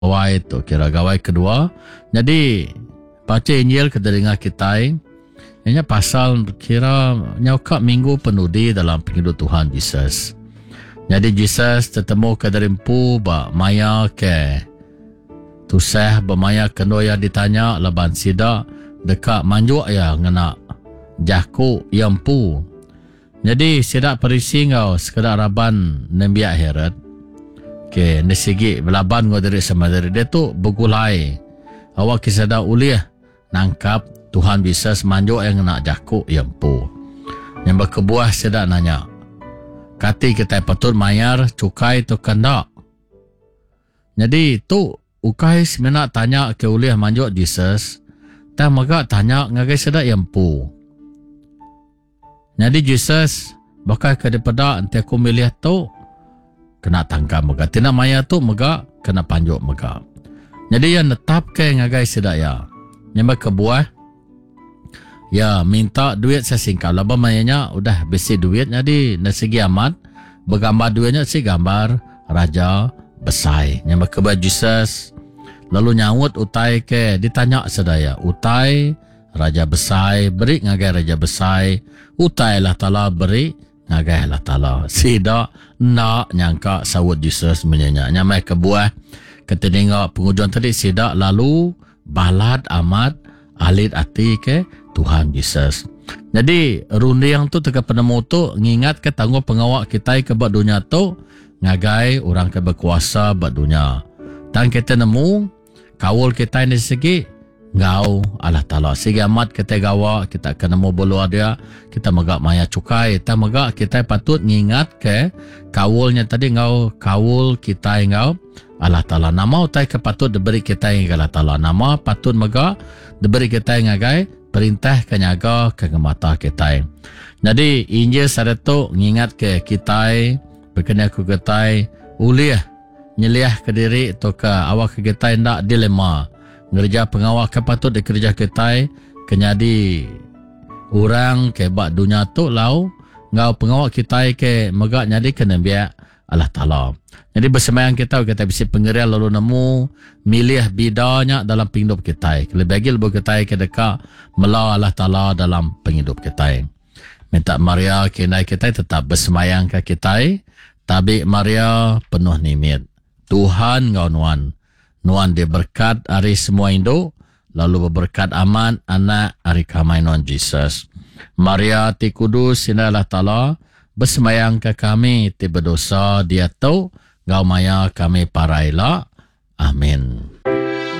Gawai tu kira gawai kedua. Nyadi bacha Injil ke didinga kitai iya nya pasal kira nyau ka minggu penudi dalam pengidup Tuhan Jesus. Nyadi Jesus tetemu ke diri empu ba maya ke tusah ba maya ke endur iya ditanya laban sida deka manjuk iya ngena jaku iya empu. Nyadi sida Parisi enggau sekeda raban nembiak Herod ke enda sigi belaban enggau diri sama diri diatu begulai awakka sida ulih nangkap Tuhan Jesus manjuk iya ngena jaku iya empu. Nya meh kebuah sida nanya, Kati kitai patut mayar chukai tauka enda? Nyadi tu ukai semina tanya ke ulih manjuk Jesus tang mega tanya ngagai sida iya empu. Nyadi Jesus baka ke dipeda enti aku milih tu kena tangkap mega ti enda maya tu mega kena panjuk mega. Nyadi iya netapka ngagai sida iya. Nya meh kebuah iya minta duit sesingkap laban maya nya udah bisi duit nyadi enda sigi amat begambar duit nya sigi gambar raja besai. Nya meh kebuah Jesus lalu nyaut utai ke ditanya sida iya. Utai Raja Besai beri ngagai Raja Besai, utai Allah Taala beri ngagai Allah Taala. Sida enda nyangka saut Jesus munyi nya. Nya meh kebuah ke ti ninga pengujung tadi sida lalu balat amat alit ati ke Tuhan Jesus. Nyadi runding tu teka penemu tu ngingatka tanggung pengawa kitai ke ba dunya tu ngagai orang ke bekuasa ba dunya. Tang kitai nemu Kaul kitai enda sigi enggau Allah Taala. Sigi amat kitai gawa, kita ke nemu buluh dia, kita mega mayar chukai. Tang mega kitai patut ngingatka kaul nya tadi enggau kaul kitai enggau Allah Taala. Nama utai ke patut diberi kitai ngagai Allah Taala? Nama patut mega diberi kitai ngagai perintah ke nyaga ke ngemata kitai? Nyadi Injil sehari tu ngingatka kitai bekena ku kitai ulih nyeliahka diri tauka awakka kitai enda dilema ngereja pengawa ke patut dikereja kitai ke nyadi orang ke ba dunya tu lau enggau pengawa kitai ke mega nyadika nembiak Allah Taala. Nyadi besembahyang kita kitai bisi pengering lalu nemu milih bida nya dalam pengidup kitai kelebih agi lebuh kitai ke deka mela Allah Taala dalam pengidup kitai. Minta Maria ke indai kitai tetap besembahyangka kitai. Tabi Maria, penuh nimit. Tuhan enggau nuan. Nuan diberkat ari semua indu, lalu beberkat amat anak ari kamai nuan Jesus. Maria ti kudus indai Allah Taala, besembahyangka kami ti bedosa diatu enggau maya kami parai ila. Amin.